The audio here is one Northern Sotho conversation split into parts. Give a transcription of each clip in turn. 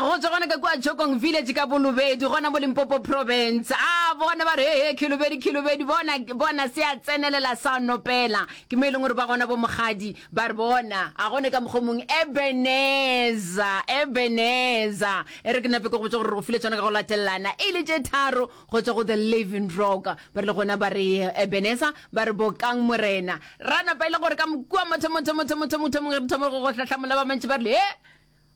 Go tswa gona ka kua Chokong Village ka Bolobedu, gona mo Limpopo Province. A bona ba re, he he, Khilobedi, Khilobedi, bona, bona se a tsenelela sa nopela. Ke mo e leng gore ba gona bo Mokgadi ba re bona, a gone ka mokgwa o mongwe, Ebenezer, Ebenezer. E re ke nape ke go botše gore re go file tšona ka go latelelana, e le tše tharo go tšwa go The Living Rock. Ba rile gona ba re, Ebenezer, ba re bokang Morena. Ra napa e le gore ka kua mathomong, thomong, thomong, thomong, thomong, re thoma go go hlahlamola ba bantši ba rile, he,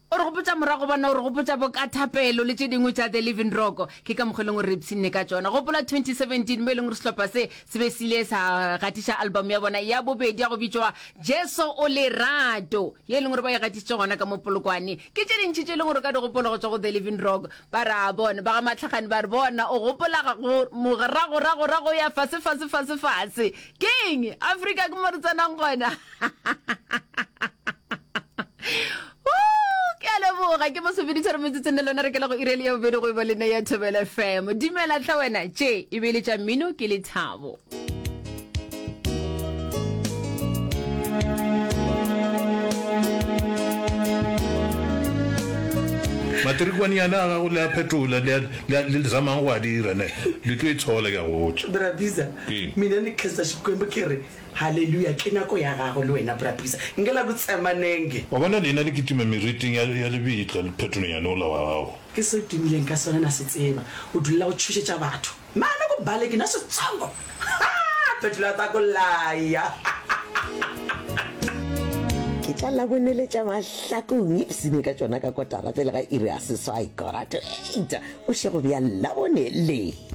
O re gopotša morago bona, o re gopotša bo ka thapelo le tše dingwe tša The Living Rock. Ke ka mokgwa e leng gore re ipshinne ka tšona. Gopola 2017 mo e leng gore sehlopha se se be se ile sa gatiša album ya bona ya bobedi ya go bitšwa Jesu o Lerato, ye e leng gore ba e gatišitše gona ka mo Polokwane. Ke tše dintši tše e leng gore o ka di gopola go tšwa go The Living Rock. Ba re a bona, ba ga Mahlakgane ba re bona, o gopola go moragoragorago ya fase fase fase fase. Ke eng? Afrika ke mo re tsenang gona. Ke a leboga ke masomeditharo metsotsong le lona re kela go iri ya bobedi go e ba lena ya Thobela FM. Dumela tlha wena tše e be e le tša mmino ke lethabo. Matrikwane yana a gago le a phetola le a le zamang go a dira ne le tlo itshola ke a go botša. Bra Bizza, mina ni khensa Xikwembu ke ri Haleluya, ke nako ya gago le wena, Bra Bisa. Nke la ku tsema nenge. Wa bona lena le kitima meriting ya, ya lebitla le phetolonyane ola wa gago. Ke se o tumileng ka sona, na se tseba. O dulela go tšhošetša batho. Mane ku baleki na setsongo. Ha! Phetola ta ku laya. Ke tša Laboneletša Mahlakong, ipsene ka tšona ka kotara pele ga iri ya seswai, kora to eight, bošego bja Labone le.